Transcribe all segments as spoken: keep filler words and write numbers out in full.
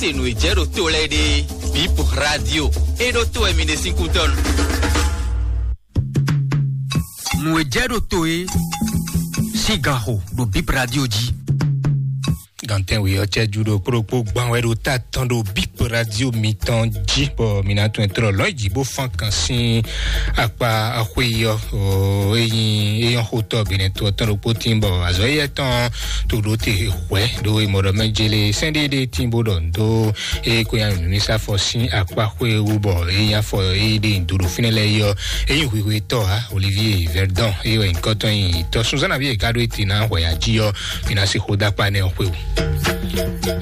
Te nǔ e jɛ ɖo to lɛ́ɛ ɖe, Bip Radio e ɖo to wɛ mi ɖe sín kútɔ́nu. Nǔ e jɛ ɖo to e sín gan xo ɖo Bip Radio jí. Gantɛn we ɔ́ cɛjú ɖo kplokpó gbán wɛ ɖo ta tɔn ɖo Bip Radio mitɔn jí, bɔ mi ná tún ɛ tlɔ lɔn jí bó fán kan sín akpa axwé yi ɔ́. Eyin eyɔn xotɔ Benɛto ɔ́ tɔn ɖokpó tín bɔ azɔ̌ yɛ tɔn to ɖó te hwɛ ɖo emɔ ɖɔ mɛ jele sɛn ɖé ɖé tín bó ɖɔ ndo eye ko nya nǔ sa fɔ sín akpa xwé wú bɔ eye nya fɔ eye ɖe ndo ɖo fínɛ́ lɛ́ɛ yi ɔ́, eyin hwihwe tɔ ha Olivier Verdon eye wɛ nyǐkɔ tɔn nyi tɔ sunzán nabí e ka ɖó ete ná hwɛ ya jí ɔ́, mi ná se xó dó akpa nɛ ɔ́ xwé wú.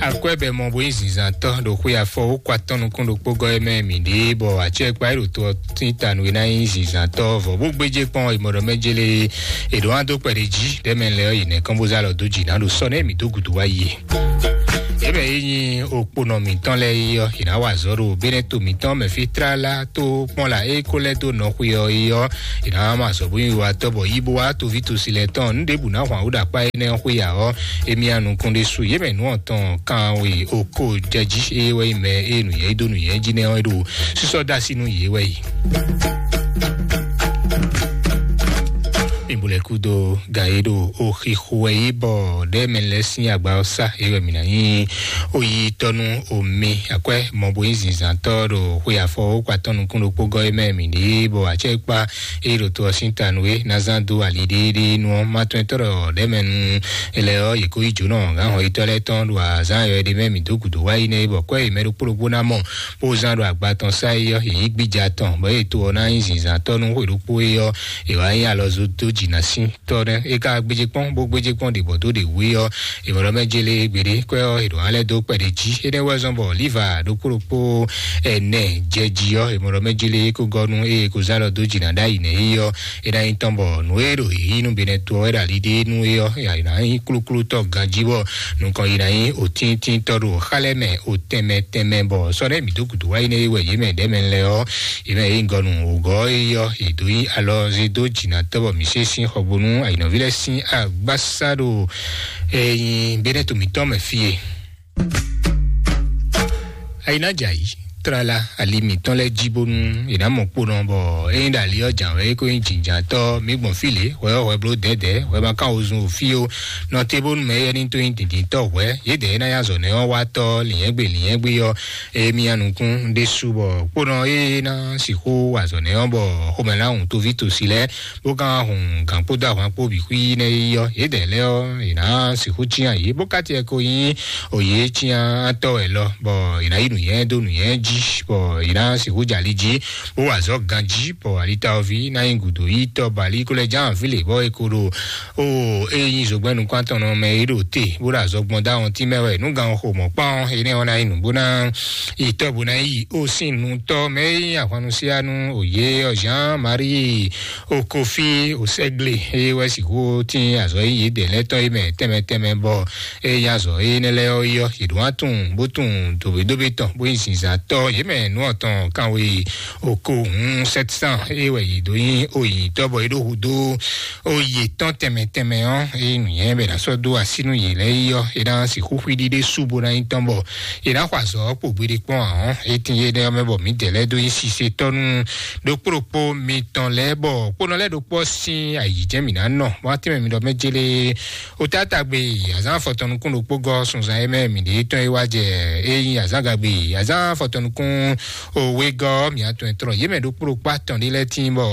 Akwɛ́ bɛ mɔ bó nyí zinzantɔ́ ɖo xwé afɔ wó kɔ atɔ́ nukún ɖokpó gɔ́ é mɛ mǐ ɖe bɔ acɛkpa e ɖo to ɔ́ tín ta nú é ná nyí zinzantɔ́ vɔ bó gbéjé kpɔ́n è mɔ ɖɔ mɛ jélé è ɖǒ wá dó kpɛɖé jí ɖɛ́ mɛ lɛ́ ɔ́ yi nɛ̌ kɔn bó zá lɔ dó jǐ ná ɖo sɔ́ nɛ́ mǐ dó gǔdo wá yi. Yě mɛ é nyí okponɔ mǐtɔn lɛ́ɛ é ɔ́, è nǎ wa azɔ̌ ɖo Bɛ́nɛto mǐtɔn mɛ fí tlala tó kpɔ́n la é kó lɛ́ dó nɔ xwe ɔ́ é ɔ́, è nǎ mɔ azɔ̌ bó nyí wiwatɔ́ bɔ yí bó wá toví tosí lɛ́ɛ tɔn nǔ ɖěbǔ ná hwan wú ɖo akpá énɛ́ ɔ́ xwé ya ɔ́, émí nya nukún ɖésú yě mɛ nǔ ɔ́ tɔn kan we oko jɛ jí é wɛ nyí mɛ e nǔnyɛ dó nǔnyɛ jí nɛ́ ɔ́ é ɖo sísɔ́ dó así nú yě wɛ yi. Mi bu lɛ́ kú dó gan e ɖo oxixo wɛ yí bɔ ɖɛ́ mɛ lɛ́ sín agba ɔ́ sá é wɛ mǐ ná nyí oyítɔ́ nú omi akwɛ́ mɔ bo nyí zinzǎntɔ́ ɖo xwe afɔ wókpatɔ́ nukún ɖokpó gɔ́ é mɛ mǐ ɖe bɔ acɛ́kpá e ɖo to ɔ́ sín ta nú é ná zán dó ali ɖéeɖée nú ɔ́. Má tɔn tɔ́ ɖɔ ɖɛ́ mɛ nu lɛ ɔ́, yě kó yí jǒnɔ gǎn hɔn yítɔ́ lɛ́ɛ tɔn ɖo azǎn yɔ ɖé mɛ mǐ dó gǔdo wá yi nɛ́ é bɔ kwɛ́ yě mɛ ɖokpó ɖokpó ná mɔ bó zán ɖo agba tɔn sá é ɔ́, yě nyí gbíja tɔn bɔ é to ɔ́ ná nyí zinzǎntɔ́ nú xwe ɖokpó é ɔ́, è wǎ nyí alɔzo dó jǐ ná sín tɔ́ nɛ́. É ka gbéjé kpɔ́n bó gbéjé kpɔ́n ɖě bɔ dó ɖě wú é ɔ́, è mɔ ɖɔ mɛ jélé gbeɖé kwɛ́ ɔ́, è ɖǒ ná lɛ́ dó kpɛɖé jí. Énɛ́ wɛ zɔ́n bɔ líva ɖokpó ɖokpó ɛnɛ jɛ jí ɔ́, è mɔ ɖɔ mɛ jélé é kó gɔ́ nú ée é kó zán ɖɔ dó jǐ ná ɖ'ayǐ nɛ́ é ɔ́, é ná nyí tɔn bɔ nǔ e ɖo yǐyí nú Benɛto ɔ́ wɛ ɖo ali ɖé nú é ɔ́, è ná nyí klúklútɔ́ ganjí bɔ nukɔn yi ná nyí òtíntíntɔ́ ɖo xá lɛ́ɛ mɛ òtɛnmɛ tɛnmɛ bɔ sɔ́ ɖɛ́ mǐ dó gǔdo wá yi nɛ́ é wɛ yě mɛ ɖɛ́ mɛ lɛ́ɛ ɔ́, yě mɛ é nyí gɔ́ nú wǒgɔ́ é ɔ́, è dǒ nyí alɔ zé dó jǐ ná tɔ́ bɔ mǐ sé sín xɔgbónú ayǐnɔví lɛ́ɛ sín agbásá ɖo Ɛ nyi Bɛ́nɛ́to mǐtɔn mɛ fí e. Ayi ná jɛ ayǐ, tlala ali mǐtɔn lɛ́ɛ jí bónú è nǎ mɔ kpónɔ bɔ é nyí ɖo ali ɔ́ jǎn wɛ é ko nyí jǐnjǎntɔ́ mǐ gbɔn fí lě, hwɛ ɔ́ hwɛ bló dɛ̌dɛ̌, hwɛ ma kán wozun o fí o. Nɔte bónú mɛ éyɛ́ ní tó nyí dǐndíntɔ́ hwɛ̌, yědɛɛ é ná nyí azɔ̌ nɛ́ ɔ́ wá tɔ́ lǐnyɛ́gbe lǐnyɛ́gbe ɔ́, émí nya nukún ɖésú bɔ kpónɔ é ná sixú wa azɔ̌ nɛ́ ɔ́ bɔ xomɛ ná hun toví tosi lɛ́ɛ bó ka hun gǎn kpódó ahwan kpó bǐ xwí nɛ́ yi ɔ́, yědɛɛ lɛ́ɛ ɔ́, è nǎ sixú cyán yě, bó ka tiɛ ko nyí òye cyán atɔ́ wɛ lɔ, bɔ è nǎ yi nǔnyɛ dó nǔnyɛ jí, bɔ è nǎ sixú jɛ ali jí, bó wa azɔ̌ ganjí, bɔ alitaɔví ná nyí gǔdo yi tɔ́ bali kó lɛ́ ján avǐ lě, bɔ è ko ɖo o e nyí zogbɛ́n nukún atɔn nɔ mɛ é ɖo te, bó ɖo azɔgbɔn dó awɔntín mɛ wɛ. Nú gan xo mɔ̌ kpán ɔ́, énɛ́ ɔ́ ná nyí nǔ bó ná yi tɔ́ bó ná yi ó sín nutɔ́ mɛ e nyí ahwannusíá nú òye ɔ́, Jean Marie Okofi Osɛgle, eye wɛ sixú tín azɔ̌ e yědɛɛ lɛ́ɛ tɔn e mɛ tɛnmɛ tɛnmɛ bɔ e nyí azɔ̌ énɛ́ lɛ́ɛ ɔ́ yi ɔ́, yě ɖó wá tunwun bó tunwun dǒbédóbé tɔn bó nyí zinzǎntɔ́ yě mɛ nǔ ɔ́ tɔn kanwe oko hun sept cent, eye wɛ yě dó nyí oyǐtɔ́ bɔ é ɖó hudó oyi tɔn tɛnmɛ tɛnmɛ ɔ́, eye nǔnyɛ bɛ ná sɔ́ dó así nú yě lɛ́ɛ yi ɔ́, é ná sixú xwíɖí ɖé sú bó ná nyí tɔn bɔ è nǎ xɔ azɔ̌ kpo gbeɖé kpɔ́n ǎ ɔ́, é tín énɛ́ ɔ́ mɛ bɔ mǐdɛɛ lɛ́ɛ dó nyí sisetɔ́ nú ɖokpó ɖokpó mitɔn lɛ́ɛ, bɔ kpónɔ lɛ́ɛ ɖokpó ɔ́ sín ayǐjɛ́n mǐ ná nɔ. Wá tɛ́nmɛ mi ɖɔ mɛ jélé o táta gbe azǎn afɔtɔn nukún ɖokpó gɔ́ sunzan e mɛ mǐ ɖe tɔn e wá jɛ e nyí azǎn gagbe azǎn afɔtɔn nukún o wegɔ́ mǐ atɔn e tlɔ yě mɛ ɖokpó ɖokpó atɔn ɖé lɛ́ɛ tín bɔ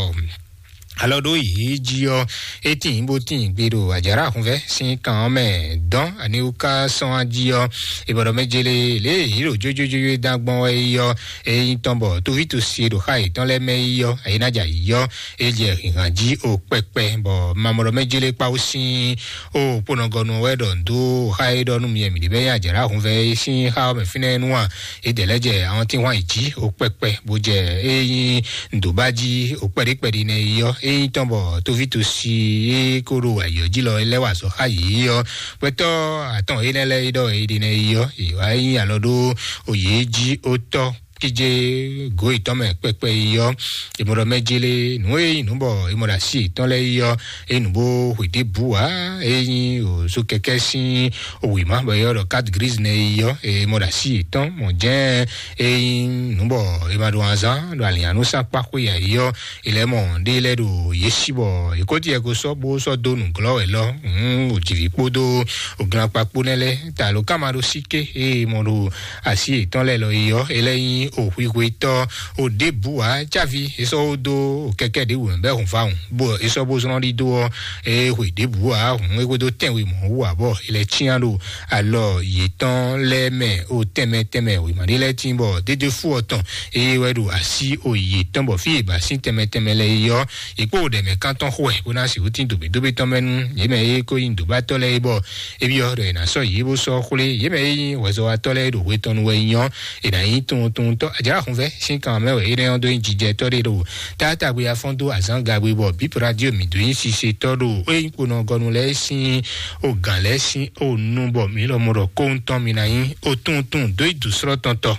alɔ ɖó yě jí ɔ́, é tín bó tín gbe ɖo àjǎrá hunvɛ́ sín kan ɔ́ mɛ dɔn aniwúká sɔ́n á jí ɔ́, è bɔ ɖɔ mɛ jélé lě e yě ɖo jójójójó dán gbɔn wɛ é ɔ́, é nyí tɔn bɔ toví tosi e ɖo xá yětɔn lɛ́ɛ mɛ é ɔ́, ayé ná jà yi ɔ́, é jɛ hǐnhǎn jí o kpɛkpɛ, bɔ mamɔɖɔ mɛ jélé kpáwú sín o kponɔgɔnu wɛ ɖɔ ndo xá é ɖɔ nú mi mǐ ɖě bɛ nyí àjǎrá hunvɛ́ é sín xá ɔ́ mɛ fínɛ́ nú a, é dɛ lɛ́ jɛ awɔntín hwan yi jí o kpɛkpɛ, bó jɛ é nyí ndo ba jí o kpɛɖé kpɛɖé nɛ yi ɔ́, é nyí tɔn bɔ toví tosi é kó ɖo ayǐ ɔ́ jí lɔ é lɛ́ wa azɔ̌ xá yě ɔ́, gbɛtɔ́ atɔn énɛ́ lɛ́ɛ é ɖɔ é ɖe nɛ yi ɔ́, é wá nyí alɔ ɖó o yě jí ó tɔ́ kíjé gǒ yětɔn mɛ kpɛkpɛ yi ɔ́, è mɔ ɖɔ mɛ jélé nǔ e nyí nǔ bɔ è mɔ ɖo asi yětɔn lɛ́ɛ yi ɔ́, é nǔ bó hwe ɖěbǔ ǎ. É nyí òzó kɛkɛ́ sín wěma bɔ è ylɔ́ ɖɔ carte grise nɛ́ yi ɔ́, è mɔ ɖo asi yětɔn mɔ jɛ́n. É nyí nǔ bɔ è ma ɖo azán ɖo alǐnyanúsán kpá xwé ǎ yi ɔ́, è lɛ́ mɔ ɖé lɛ́ɛ ɖo yě sí bɔ è kó tiɛ ko sɔ́ bó sɔ́ dó nǔglɔ́ wɛ lɔ. Hǔn òjìví kpódó òglankpa kpó nɛ́ lɛ́ɛ ta lǒ ká ma ɖó sí ké ée mɔ ɖo asi yětɔn lɛ́ɛ lɔ yi ɔ́, é lɛ́ nyí òhwihwetɔ́ òɖěbǔ ǎ. Cávi é sɔ́ wó dó kɛkɛ́ ɖěbǔ mɛ bɔ é hun fá hǔn, bó é sɔ́ bó zlɔ́n ɖidó ɔ́, é hwe ɖěbǔ ǎ hǔn é xwedó tɛ́nwe mɔ̌ wú ǎ bɔ é lɛ́ cyán ɖo alɔ yětɔn lɛ́ɛ mɛ o tɛnmɛ tɛnmɛ wěma ɖé lɛ́ɛ tín bɔ dédé fú ɔ́ tɔn eye wɛ ɖo así o yětɔn bɔ fí e ba sín tɛnmɛ tɛnmɛ lɛ́ɛ yi ɔ́, yě kpó ɖɛ̌mɛ kántɔn xo wɛ bó ná sixú tín dǒbédóbé tɔn mɛ nú yě mɛ e ko nyí dǒbatɔ́ lɛ́ɛ é bɔ é byɔ́ ɖɔ è nǎ sɔ́ yě bó sɔ́ xwlé yě mɛ e nyí hwɛzɔ́watɔ́ lɛ́ɛ ɖo hwe tɔn nu wɛ nyí ɔ́, è nǎ nyí tunwuntunwuntɔ́ ajǎ hunvɛ́ sín kan mɛ wɛ énɛ́ ɔ́ dó nyí jijɛtɔ́ ɖé ɖo tátágbe afɔ́n dó azǎn gagbe bɔ bǐ radio mǐ dó nyí sisetɔ́ ɖo é nyí kponɔgɔnu lɛ́ɛ sín o gǎn lɛ́ɛ sín o nu bɔ mǐ lɔmɔ̌ ɖɔ kóhun tɔn mǐ ná nyí o tunwuntunwun dó yi dǔsrɔ́ tɔn tɔ.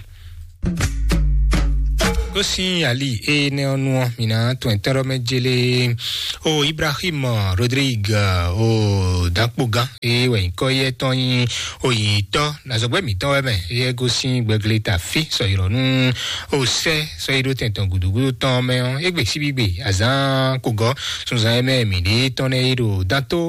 Kó sín ali énɛ́ ɔ́ nu ɔ́, mǐ ná tɔn ɛtɛ́ ɖɔ mɛ jélé o Ibrahim Rodrigue o dakpogán e wɛ nyǐkɔ yɛ tɔn nyí oyǐtɔ́ nazɔgbɛ́ mǐtɔn wɛ mɛ yɛ gosín gbɛgleta fí sɔyɔrɔ nú o sɛ sɔyíɖó tɛntɔn gǔdúgúdú tɔn mɛ ɔ́, égbé síbígbe azán kogɔ sunzan e mɛ mǐ ɖe tɔn nɛ e ɖo dantó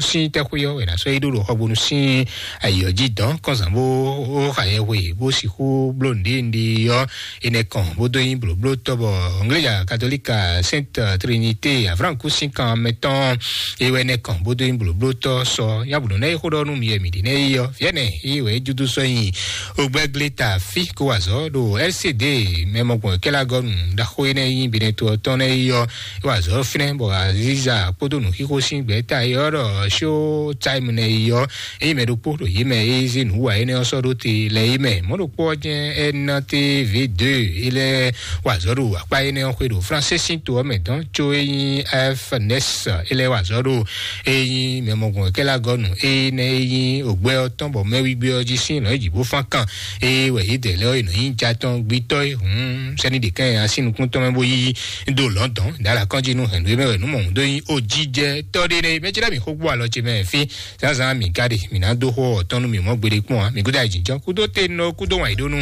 sín tɛ́xwé ɔ́ wɛ ná sɔyíɖó ɖo xɔgbónú sín ayǐ ɔ́ jí dɔn kɔnzán bó xa yɛhwe bó sixú bló nǔɖé nǔɖé ɔ́, enɛ kɔn bó dó nyí blǒblótɔ́ bɔ Anglija Katolika Sainte Trinité Avranku sín kan mɛ tɔn e wɛ nɛ kɔn bó dó nyí blǒblótɔ́ sɔ nyabǔɖɔ nɛ e xó ɖɔ nú mi wɛ mǐ ɖe nɛ yi ɔ́, fiɛnɛ e wɛ é júdú sɔ́ nyi ogbɛ́glé ta fí kó wa azɔ̌ ɖo L C D mɛ mɔgbɔn kɛ́lá gɔ́ nǔ ɖaxó énɛ́ nyí Benɛto ɔ́ tɔn nɛ yi ɔ́, é wa azɔ̌ fínɛ́ bɔ Aziza kpódó nǔxixo sín gbɛ̌ta e ɔ́ ɖɔ Showtime nɛ yi ɔ́, ényí mɛ ɖokpó ɖo yě mɛ e zé nǔ wa énɛ́ ɔ́ sɔ́ ɖó te lɛ é mɛ. Mɔ̌ ɖokpó ɔ́ jɛ́n N T V deux é lɛ́ wa azɔ̌ ɖo akpá énɛ́ ɔ́ xwé ɖo Fransé sín to ɔ́ mɛ dɔn, có é nyí F N S é lɛ́ wa azɔ̌ ɖo é nyí mɛ mɔgbɔn kɛ́lá gɔ́nu énɛ́ é nyí ògbɛ ɔ́ tɔn bɔ mɛwígbé ɔ́ jí sín lɔ̌nyijǐ bó fán kan é wɛ yědɛɛ lɛ́ɛ ɔ́ è nɔ nyí ja tɔn gbitɔ́ é hǔn sɛ́ni ɖě kɛn así nukúntɔn mɛ bó yí dó lɔ̌ndɔn dǎla kɔn jí nú hɛ̌nnu é mɛ wɛ nǔ mɔ̌hun dó nyí ó jí jɛ tɔ́ ɖé nɛ́ é mɛ cí ɖɔ mǐ xó gbó alɔ ce mɛ fí. Zǎnzǎn mǐ ka ɖe, mǐ ná dó xó ɔ́ tɔn nú mǐ mɔ gbeɖé kpɔ́n ǎ. Mǐ gúdo ayǐjínjɔ́n kúdó te nɔ kúdó wǎn yí ɖó nú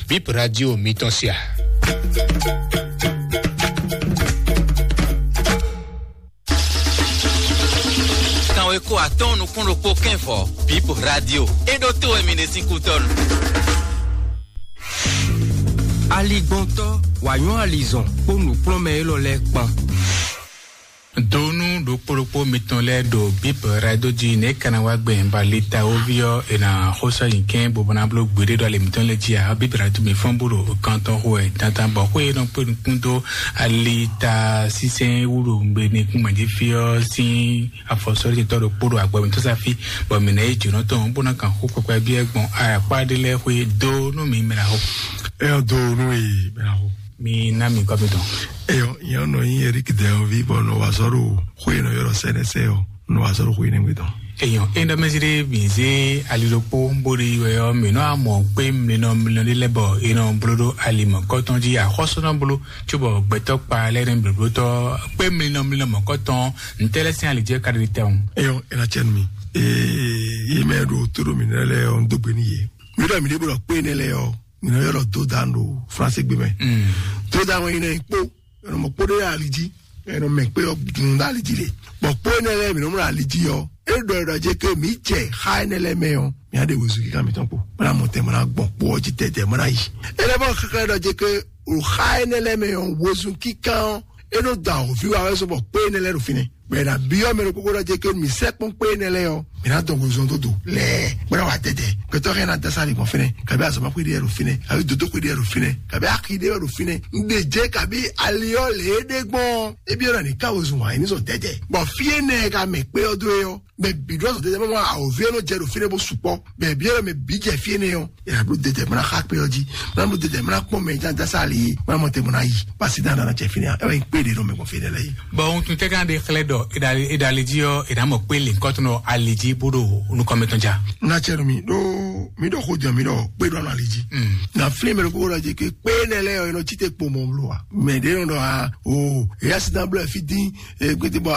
bǐ radio mitɔn se a. Kanweko atɔ́ɔ́n nukún ɖokpó kɛ́nvɔ bǐ radio é ɖó tó wɛ mi ɖe sín kútɔ́nu. Aligbɔntɔ́, wǎnyɔ́ alizɔn kpó nǔkplɔ́nmɛ élɔ́ lɛ́ɛ kpán. Donu ɖokpó ɖokpó mitɔn lɛ́ɛ ɖo Bíbɛlɛ ɖó jí nɛ̌ ka ná wá gbɛn ba litawoví ɔ́ è nǎ xó sɔ́ nyi kɛ́n bó ná bló gbeɖé ɖo ali mǐtɔn lɛ́ɛ jí ǎ. Bíbɛlɛ tún mi fɔ́n bó ɖo kan tɔn xo wɛ dandan bɔ xwé e nɔ kpé nukún dó ali ta sínsɛ́n wú ɖo un gbe nukún mɛ jí fí ɔ́ sín afɔsɔ́lítɔ́ ɖokpó ɖo agbawintɔ́sáfí, bɔ mǐ ná yi jǒnɔ tɔn bó ná kan xó kpɛkpɛ byɔ́ gbɔn ayakpá ɖé lɛ́ɛ xwé dó nú mǐ mɛ ná xo. Ɛ ɔ́ dó nú e mɛ ná xo. Mi ná mi kɔ mi dɔn. Eyɔ, yɛn nɔ nyi Eric Dɛɔvi bɔ nɔ wa zɔ ɖo xwe nɔ yɔrɔ sɛnɛsɛ ɔ, nɔ wa zɔ ɖo xwe nɛgbɛ dɔn. Eyɔ, e ɖɔ mɛsiri mi zé ali ɖokpó bó ɖe yi wɛ ɔ, mi nɔ amɔ kpé mlinɔ mlinɔ ɖe lɛ bɔ e nɔ blo ɖo ali mɔ kɔtɔn jí axɔsɔ nɔ blo, tso bɔ gbɛtɔ kpa lɛ nɛ blóblótɔ kpé mlinɔ mlinɔ mɔ kɔtɔn ntɛ lɛ sin ali jɛ ka ɖe tɛ o. Eyɔ, e na cɛ nu mi. Ee, yi mɛ ɖo to ɖo mi nɛ lɛ ɔ, n do gbe ni ye. Mi ɖɔ mi ɖe blo kpé nɛ lɛ ɔ. Mǐ nɔ ylɔ́ Dodan ɖo Fransé gbe mɛ. Dodan wɛ nyina kpó, ɛnɔ mɔ kpó ɖé ali jí, ɛnɔ mɛ kpé ɔ́ dunu ɖo ali jí le. Bɔ kpó énɛ́ lɛ́ɛ mǐ nɔ mlɔ ali jí ɔ́, é ɖɔ ɖɔ jɛ ké mǐ jɛ xa énɛ́ lɛ́ɛ mɛ ɔ́, mǐ á ɖe wezun kíkan mǐtɔn kpo. Mɔ́ ná mɔ tɛn, mɔ́ ná gbɔn kpó ɔ́ jí tɛtɛ, mɔ́ ná yi. É lɛ́ bɔ xɛxɛ ɖɔ jɛ ké o xa énɛ́ lɛ́ɛ mɛ ɔ́, wezun kíkan ɔ́, é nɔ da awǒvi wa wɛ sɔ bɔ kpó énɛ́ lɛ́ɛ ɖo fínɛ́. Bɛ na biɔ mɛ ɖokpokpo ɖɔ jɛ ke mi sɛ kpɔn kpé nɛ lɛ yɔ, mi na dɔn gozɔn dodo lɛ, bɛ na wa dɛdɛ. Kɛtɔ hɛn na dasa le gbɔn fɛnɛ, kabi azɔba kwe de yɛ do fɛnɛ, kabi dodo kwe de yɛ do fɛnɛ, kabi aki de yɛ do fɛnɛ. N de jɛ kabi aliyɔ le de gbɔn. Ebi yɔ na ni ka wozun wa, ni sɔ dɛdɛ. Bɔn fie nɛ ka mɛ kpe yɔ do yɔ. Mɛ bi dɔ sɔ dɛdɛ mɛ mɔ awo vie no jɛ do fɛnɛ bo sukpɔ. Mɛ bi yɔ mɛ bi jɛ fie nɛ yɔ. Yɛ blo dɛdɛ mɛ na xa kpe yɔ ji, mɛ na blo dɛdɛ mɛ na kpɔn mɛ jan dasa le, mɛ na mɔ te mɛ na yi. Pasi dan na cɛ fini ya, ɛ wɛ kpe de nɔ mɛ gbɔn fie nɛ lɛ yi. Bɔn ohun tun tɛ kan de xlɛ Ɔ, e ɖo ali, e ɖo ali jí ɔ́, e ɖo amɔ kpé lěnkɔtɔn ali jí bó ɖo nukɔn mɛtɔn ja. Na cɛ nɔ mi ɖó mi ɖɔ xó jɔ mi ɖɔ kpé ɖɔ nɔ ali jí. Na flin mɛ ɖo kókó ɖɔ jí ké kpé nɛ lɛ ɔ, e nɔ tsi te kpo mɔ blo wa. Mɛ ɖe nɔ ɖɔ a o eya si dan blɔ fi dín e gbete bɔ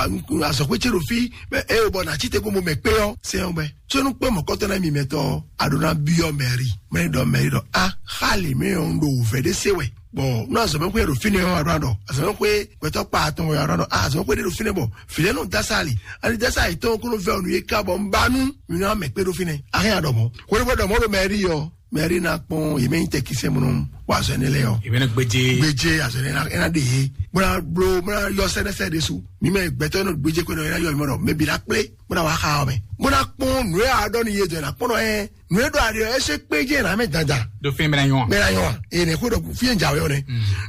azɔkpe tse ɖo fi mɛ e o bɔ na tsi te kpo mɔ mɛ kpé ɔ sɛ ɔ bɛ. Tsɔnu kpé mɔ kɔtɔ na mi mɛtɔ a ɖo na biɔ mɛri mɛ ɖɔ mɛri ɖɔ a xali mɛ ɔ ɖo vɛ ɖe se wɛ. Bɔn nú azɔmɛxwé ɖo fínɛ́ ɔ́, aɖɔ aɖɔ azɔmɛxwé gbɛtɔ́ kpa atɔn wɛ aɖɔ aɖɔ azɔmɛxwé ɖé ɖo fínɛ́ bɔ fìlẹ́ nɔ dasa ali ali dasa ali tɔn kó ló vɛ ɔnu yé ká bɔ un ba nú mi nɔ amɛ kpé ɖo fínɛ́. Ahɛn aɖɔ mɔ xwéɖé bɔ ɖɔ mɔ ɖo mɛri ɔ mɛri na kpɔn yě mɛ nyi tɛkisɛ mɔ nɔ wa azɔ ɛnɛ lɛ ɔ. Ìbéèrè gbèjè. Gbèjè azɔ ɛnɛ na ɛna ɖe yé bó na blo bó na yɔ sɛnɛsɛ ɖe su mi mɛ gbɛtɔ́ nɔ gbèjè kó nɔ ɛna yɔ mi mɔ ɖɔ mɛ bi na kplé bó na wa xa ɔ mɛ bó na kpɔn nǔ yà ɖɔ ni yé dɔ ɛna kpɔn nɔ ɛ nǔ e ɖo aɖe ɔ́, é ṣe kpéjé ná mɛ dandan. Ɖo fínɛ́ bɛ́ ná nyɔ́ a? Bɛ́ ná nyɔ́ a? Eye nɛ̌ xó ɖɔ fí e jǎwe ɔ́ nɛ́.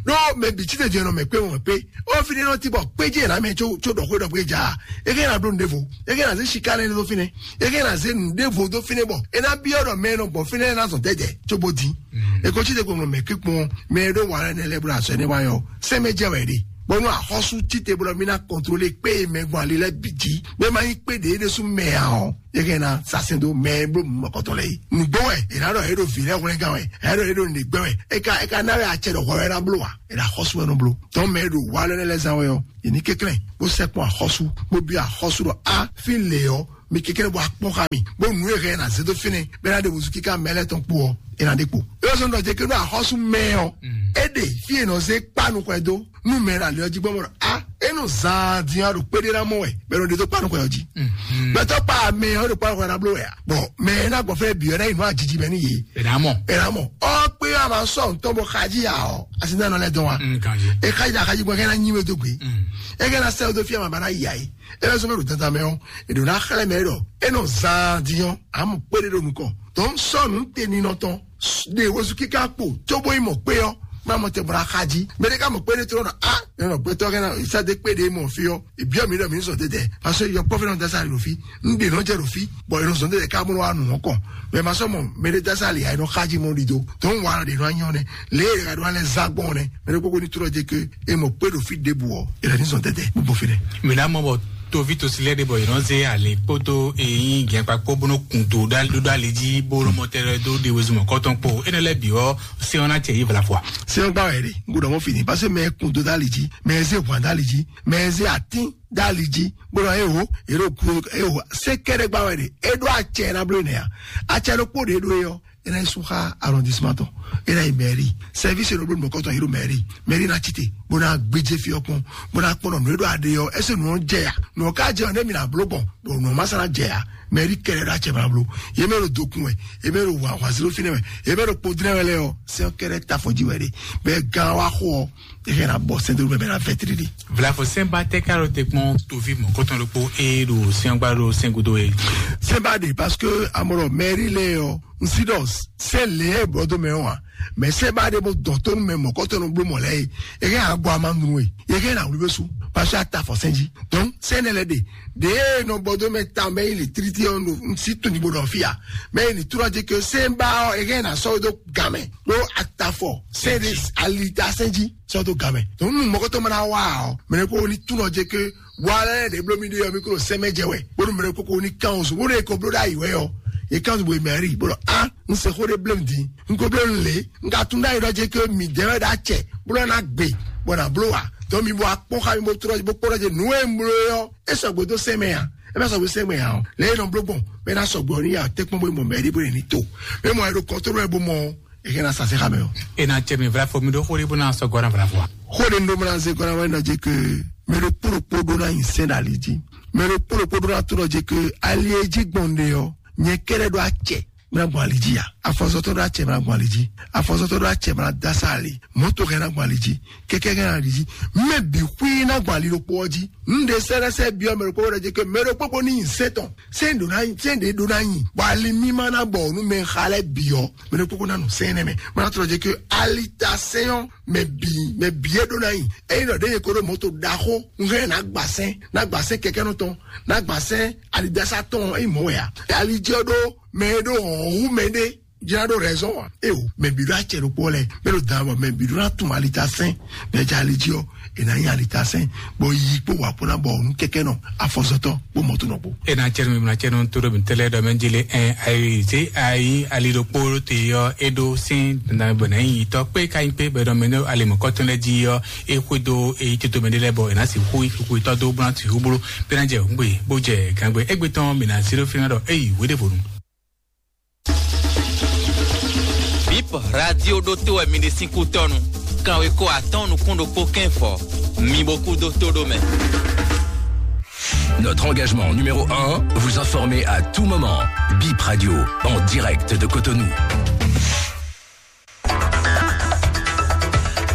Ɖó mɛ bǐ títɛ jɛ nɔ mɛ kpé mɔ kpé. Ó fi ɖé nɔ ti bɔ kpéjé ná mɛ tso tso ɖɔ xó ɖɔ xó e ja. Eke ná bló nǔɖévo. Eke ná zé siká lɛ́ dó fínɛ́. Eke ná zé nǔɖévo dó fínɛ́ bɔ. É ná byɔ́ ɖɔ mɛ e nɔ gbɔ fínɛ́ ná zɔn dɛdɛ tso bó dín. Eko títɛ ko nɔ mɛ kpé kpɔn mɛ e ɖó wǎ lɛ́ nɛ lɛ́ bló azɔ̌ énɛ́ wá nyɔ. Sɛ́n mɛ jɛ wɛ ɖe. Bɔnú axɔ́sú títɛ blɔ mí ná kɔntrolé kpé e mɛ gbɔn ali lɛ́ɛ bǐ jí. Bó má nyí kpé ɖě ɖésú mɛ ǎ ɔ́. Yeke na sasɛn dó mɛ e bló mɔkɔtɔ lɛ yi. Nǔgbó wɛ, è nǎ ɖɔ é ɖo vǐ lɛ́ɛ hwlɛ́ngán wɛ, è nǎ ɖɔ é ɖo nǔɖé gbɛ́ wɛ. É ka é ka ná wɛ acɛ ɖɔ hwɛ wɛ ná bló wa. È nǎ xɔ́sú wɛ nɔ bló. Tɔn mɛ e ɖo wa lɛ́ lɛ́ zán wɛ ɔ́, è ní kɛnklɛ́n bó sɛkpɔn axɔ́sú, bó byɔ́ axɔ́sú ɖɔ á fí lě ɔ́, mi kɛnklɛ́n bó akpɔ́n xá mi, bó nǔ e hɛn è nǎ zé dó fínɛ́, bó ná ɖe wǔzú kíká mɛ lɛ́ɛ tɔn kpó ɔ́, è nǎ ɖe kpo. É wá sɔ́ nɔ jɛ ké ɖó axɔ́sú mɛ ɔ́, é ɖe fí è nɔ zé kpá nukɔn ɛ dó. Nú mɛ ɖo ali ɔ́ jí gbɔn bɔ a e nɔ zan din ɔ́ ɖo kpéɖé ná mɔ wɛ bɛ nɔ ɖe dó kpanu xɔ ɔ́ jí. Gbɛtɔ kpa mɛ ɔ́ ɖo kpanu xɔ ná bló wɛ a bɔn mɛ ɛ ná gbɔ fɛ bi ɔ́ ná yi nú ajiji mɛ ní yé. Ɛ ná mɔ. Ɛ ná mɔ ɔ kpé a ma sɔ ntɔn bɔ xaji ya ɔ asi ná nɔ lɛ dɔn wa. Nkan yi. E xaji da xaji gbɔn kɛ ná nyi we dó gbe. E kɛ ná sɛ o dó fi ma ba ná yi ayi. E bɛ sɔ bɛ ɖo dandan mɛ ɔ e ɖo ná xlɛ mɛ ɖɔ e nɔ zan din ɔ amu kpéɖé ɖo nukɔ tɔn sɔnu tɛ ninɔ tɔn. De wozu kíká kpo tsobo yi mɔ kpé ɔ má mɔ tɛ bɔra xa jí mɛ ɖé ká mɔ kpé ɖé trɔ nɔ a nɔ gbɛtɔ kɛ na ìsáde kpé ɖé mɔ fi ɔ ebiɔ mi ɖɔ mi sɔ tɛtɛ parce que yɔ kpɔfɛ nɔ dasa ɖo fi n ɖe nɔ jɛ ɖo fi bɔn yɔ sɔ tɛtɛ ká mɔ wa nù ɔkɔ mɛ ma sɔ mɔ mɛ ɖé dasa li ayi nɔ xa jí mɔ ɖi do tó ń wa ɖe nɔ anyɔ nɛ lé yɛ ɖo alɛ zá gbɔn nɛ mɛ ɖé kpokpo ní trɔ jɛ ke e mɔ kpé ɖo fi ɖe bu ɔ yɛ ní sɔ tɛtɛ gbogbo fi nɛ. Mi na mɔ bɔ tovi tosilɛ ɖe bɔ yɛ nɔ ze ali kpótó eyin gɛnkpa kpó bó nɔ kun do ɖó ali jí bó nɔ mɔ tɛ ɖó ɖe wezumɔ kɔtɔn kpó enɛ lɛ bi ɔ se ɔ́ ná cɛ yí vla fua. Se ɔ́ gbá wɛ ɖe n kò dɔmɔ fini parce que mɛ kun do dali jí mɛ ze hwan dali jí mɛ ze atín dali jí gbọ́dọ̀ eho ero ku eho se kɛɖɛ gbá wɛ ɖe eɖo acɛ na blo nɛ ya acɛ ɖo kpó ɖe ɖo yɔ ena yi sun xa arrondissement tɔn ena yi mairie service ɖo blo mɔkɔtɔ yi ɖo mairie mairie na tite bó na gbedze fi ɔkpɔn bó na kpɔnɔ nù eɖo aɖe yɔ ɛsɛ nù ɔn jɛ ya nù ɔn ka jɛ ɔn ne mi na blo gbɔn bɔn nù ɔn ma sa na jɛ ya mairie kɛɖɛ ɖo acɛ ma blo ye mɛ ɖo dokun wɛ ye mɛ ɖo wa wa zero fi nɛ wɛ ye mɛ ɖo kpodinɛ wɛ lɛ yɔ sɛ kɛɖɛ ta fɔ ji wɛ ɖe bɛ gan wa xɔ ɔ ehe na bɔ sɛnte bɛ na fɛ tiri di. Vlafo sɛnba tɛ ka ɖo te kpɔn tovi mɔ kɔtɔn ɖokpo eye ɖo sɛngba ɖo sɛngudo ye. Sɛnba de parce que amɔrɔ mairie lɛ yɔ nsidɔs sɛ lɛ bɔ do mɛ wa mɛ sɛnba de bo dɔn tɔnu mɛ mɔ kɔtɔn ɖo blo mɔ lɛ ye eke agɔ ama nu ye eke na wuli bɛ su parce que ata fɔ sɛnji donc sɛnɛ lɛ de de nɔ bɔ do mɛ ta mɛ yi le tiriti ɔn no nsi tun ni bo dɔn fia mɛ yi ni tura di ke sɛnba ɔ eke na sɔ do gamɛ ɖo atafɔ sɛde alita sɛnji sɔdo gamɛ. Donc nu mɔgɔtɔ mana wa ɔ mɛnɛ ko ni tunɔ jɛ ke wa lɛ de blo mi de yɔ mi ko sɛmɛ jɛ wɛ bonu mɛnɛ ko ko ni kan osu bonu eko blo da yi wɛ ɔ e kan bo mɛri bolo a n se xo de blem di n ko blem le n ka tun da yi dɔ jɛ ke mi jɛ wɛ da cɛ bolo na gbe bɔ na blo wa. Donc mi bo akpɔ xa mi bo trɔ bo kpɔ dɔ jɛ nu e n blo yɔ e sɔgbe do sɛmɛ ya e bɛ sɔgbe sɛmɛ ya ɔ lɛ e nɔ blo gbɔn bɛ na sɔgbe ɔ ni ya te kpɔn bo mɔ mɛri bo ni to mɛ mɔ ɛ do kɔntro ɛ bo mɔ eke na sase xamɛ o. Ena cɛ mi vla fɔ mi ɖo xo ɖe bó na sɔ gɔna vla fɔ. Xo ɖe ndo mla ze gɔna wɛ nɔ dze ke mɛ ɖo kpolo kpo ɖo na yin sɛn ɖe ali dzi mɛ ɖo kpolo kpo ɖo na to nɔ dze ke ali e dzi gbɔn ɖe ɔ nyɛ kɛɖɛ ɖo acɛ mla gbɔn ali dzi ya afɔzɔtɔ ɖo acɛ mla gbɔn ali dzi afɔzɔtɔ ɖo acɛ mla dasa ali mɔto hɛn na gbɔn ali dzi kɛkɛ hɛn na ali dzi mɛ bi xui na gbɔn ali ɖo kpo ɔ dzi Nɖe sɛ́lɛ́sɛ́ byɔ́ mɛ ɖokpó ɖɔ jɛ ke mɛ ɖokpó ko ní nyi sɛ́ tɔn. Sɛ́n ɖo ná sɛ́n ɖě ɖó ná nyi. Bɔ ali mímá ná bɔ nú mɛ xa lɛ́ɛ bǐ ɔ́, mɛ ɖokpó ko ná nɔ sɛ́n nɛ́ mɛ. Má ná tlɔ jɛ ke ali ta sɛ́n ɔ́, mɛ bǐ mɛ bǐ é ɖó ná nyi. Ényí ɖɔ ɖě yě ko ɖó mɔ̌to ɖaxó, un hɛn ná gba sɛ́n, ná gba sɛ́n kɛkɛ́nɔ tɔn, ná gba sɛ́n alidasa tɔn ɔ́, é nyí mɔ̌ wɛ ǎ. Ali jɛ ɔ́ ɖó mɛ e ɖó hɔ̌n hú mɛ ɖé. Jira ɖo raison wa. E o, mɛ bi ɖo acɛ ɖokpó lɛ, mɛ ɖo dan bɔ mɛ bi ɖo na tun alita sɛn, mɛ ja ali jí ɔ, e na nyi alita sɛn, bɔ yi kpó wa kpó na bɔ nu kɛkɛ nɔ afɔzɔtɔ kpó mɔto nɔ kpó. E na cɛ nu, na cɛ nu to ɖo mi tɛlɛ ɖɔ mɛ jele ɛ ayi ze ayi ali ɖokpó te yɔ e ɖo sin dan bɔ na yi tɔ kpé ka nyi kpé bɛ ɖɔ mɛ ne ali mɔ kɔtɔn lɛ ji yɔ e xwe do e yi tito mɛ ɖe lɛ bɔ e na si xu yi xu yi tɔ do blan ti xu blo pe na jɛ ŋgbe bó jɛ gangbe egbe tɔn mi na zero fi na ɖɔ eyi wede vo nu. Bip radio ɖótó wɛ mi ɖe sín kútɔ́nu. Kanweko atɔ́ɔ́n nukún ɖokpó kɛ́nfɔ. Mi bo kú dó tó ɖó mɛ. Notre engagement numéro un, vous informer à tout moment. Bip Radio, en direct de Cotonou.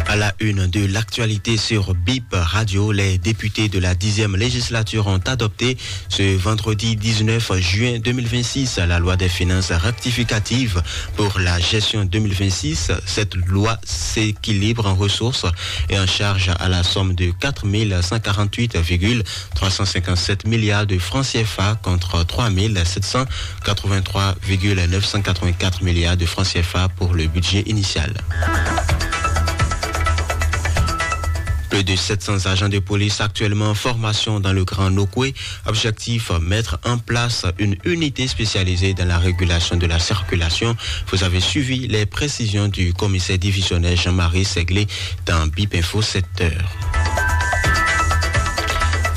À la une de l'actualité sur Bip Radio, les députés de la dixième législature ont adopté ce vendredi dix-neuf juin deux mille vingt-six la loi des finances rectificative pour la gestion deux mille vingt-six. Cette loi s'équilibre en ressources et en charges à la somme de quatre mille cent quarante-huit virgule trois cent cinquante-sept milliards de francs C F A contre trois mille sept cent quatre-vingt-trois virgule neuf cent quatre-vingt-quatre milliards de francs C F A pour le budget initial. Plus de sept cents agents de police actuellement en formation dans le Grand Nokoué. Objectif, mettre en place une unité spécialisée dans la régulation de la circulation. Vous avez suivi les précisions du commissaire divisionnaire Jean-Marie Seglé dans Bip Info sept heures.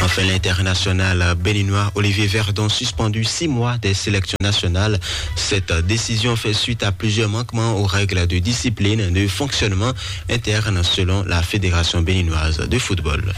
Enfin, l'international béninois Olivier Verdon suspendu six mois des sélections nationales. Cette décision fait suite à plusieurs manquements aux règles de discipline et de fonctionnement interne selon la Fédération béninoise de football.